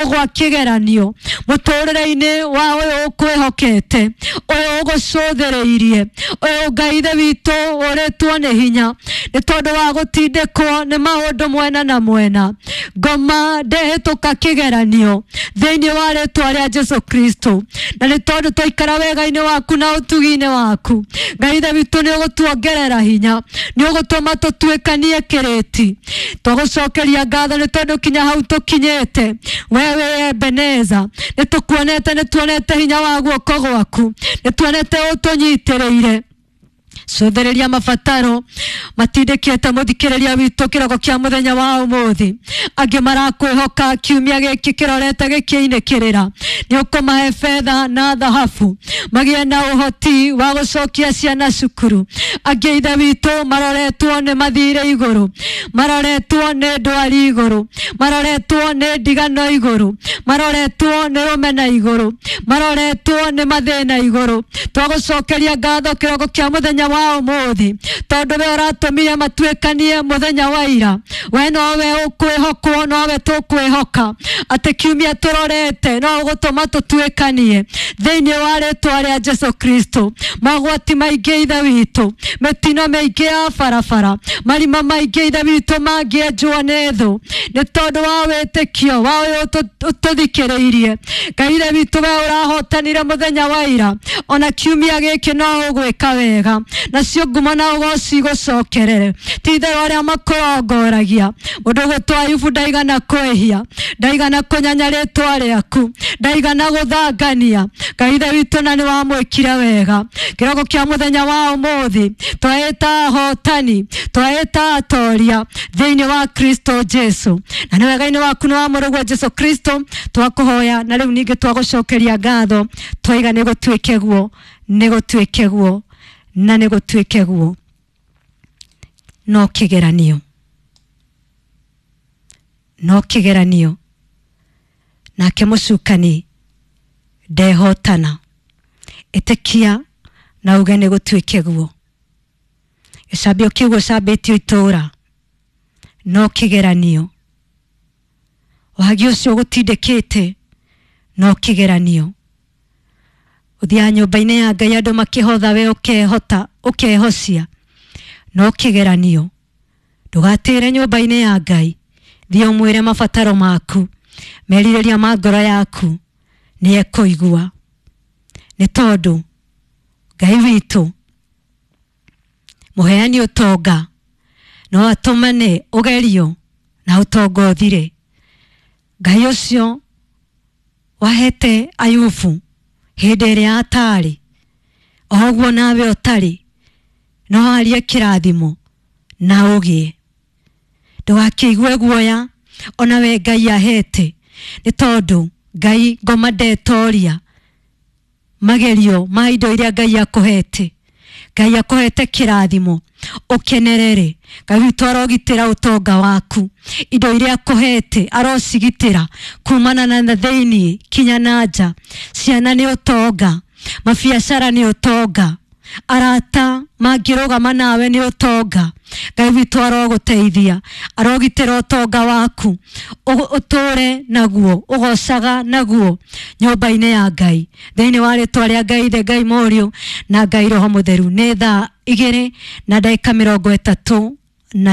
Gwa kĩgeranio mũtũrĩre-inĩ wa ũyũ ũkwĩhokete, ũyũ ũgũcũthĩrĩirie, ũyũ Ngai Ithe witũ ũrĩtwo nĩ hinya nĩ tondũ wa gũtindĩkwo nĩ maũndũ mwena na mwena. Ngoma ndehĩtũka kĩgeranio thĩinĩ wa rĩtwa rĩa Jesu Kristo, na nĩ tondũ twaikara wega-inĩ waku na ũtugi-inĩ waku, Ngai Ithe witũ nĩ ũgũtuongerera hinya, nĩ ũgũtũma tũtuĩkanie kĩrĩti. Twagũcokeria ngatho nĩ tondũ kinya hau tũkinyĩte, we wĩ Ebeneza, nĩ tũkuonete, nĩ tuonete hinya wa guoko gwaku, nĩ tuonete ũtũnyitĩrĩire. Cũthĩrĩria mabataro matindĩkĩte mũthikĩrĩria witũ kĩroko kĩa mũthenya wa ũmũthĩ. Angĩ marakwĩhoka kiumia gĩkĩ kĩrorete gĩkĩinĩ kĩrĩra, nĩ ũkũmahe betha na thahabu magĩe na ũhoti wa gũcokia ciana cukuru. Angĩ Ithe witũ maroretwo nĩ mathirĩ igũrũ, maroretwo nĩ ndwari igũrũ, maroretwo nĩ ndigano igũrũ, maroretwo nĩ rũmena igũrũ, maroretwo nĩ mathĩna igũrũ. Twagũcokeria ngatho kĩroko kĩa mũthenya wa ũmũthĩ tondũ we ũratũmire matuĩkanie mũthenya wa ira. We nowe ũkwĩhokwo, nowe tũkwĩhoka atĩ kiumia tũrorete no ũgũtũma tũtuĩkanie thĩinĩ wa rĩtwa rĩa Jesu Kristo. Mogwati maingĩ Ithe witũ, mĩtino mĩingĩ ya barabara, marima maingĩ Ithe witũ mangĩenjwo nĩ thũ nĩ tondũ wa wĩtĩkio wa ũyũ ũtũthikĩrĩirie. Ngai Ithe witũ, we ũrahotanire mũthenya wa ira, ona kiumia gĩkĩ no ũgwĩka wega, nacio ngumo na ũgoci gũcokerere. Ti itherũ arĩa makũrongoragia, mũndũ ũgwĩtwo Ayubu ndaigana kwĩhia, ndaigana kũnyanya rĩtwa rĩaku, ndaigana gũthangania. Ngai Ithe witũ, na nĩ wamwĩkire wega. Kĩroko kĩa mũthenya wa ũmũthĩ twaĩta ahotani, twaĩta atoria thĩinĩ wa Kristo Jesu, na nĩ wega-inĩ waku nĩ wa mũrũguo Jesu Kristo twakũhoya, na rĩu ningĩ twagũcokeria ngatho, twaiga nĩ gũtuĩke guo, nĩ gũtuĩke guo, na nĩ gũtuĩke guo. No kĩgeranio, no kĩgeranio, nake mũcukani ndehotana. Ĩtĩkia na uge nĩ gũtuĩke guo. Gĩcambio kĩu gũcambĩtio itũũra no kĩgeranio, wagi ũcio ũgũtindĩkĩte no kĩgeranio. Ũthiaga nyũmba-inĩ ya Ngai andũ makĩhotha, we ũkehota ũkehocia, no kĩgeranio. Ndũgatĩre nyũmba-inĩ ya Ngai, thiĩ ũmwĩre mabataro maku, merirĩria ma ngoro yaku, nĩ ekũigua, nĩ tondũ Ngai witũ mũheani ũtonga no atũmane ũgerio na ũtonga ũthire. Ngai ũcio wahete Ayubu hĩndĩ ĩrĩa atarĩ, o ũguo nawe ũtarĩ, no arie kĩrathimo na ũgĩe. Ndũgakĩigue guoya ona we Ngai ahete, nĩ tondũ Ngai ngoma ndetoria magerio ma indo iria Ngai akũhete. Ngai akũhete kĩrathimo ũkenerere. Ngai witũ arogitĩra ũtonga waku, indo iria akũhete arocigitĩra kumana na thĩinĩ kinya na nja. Ciana nĩ ũtonga, mabiacara nĩ ũtonga, arata mangĩrũgama nawe nĩ ũtonga. Ngai witũ arogũteithia, arogitĩra ũtonga waku, ũtũre naguo, ũgocaga naguo nyũmba-inĩ ya Ngai, thĩinĩ wa rĩtwa rĩa Ngai Ithe, Ngai Mũriũ na Ngai Roho Mũtheru. Nĩ thaa 2:30.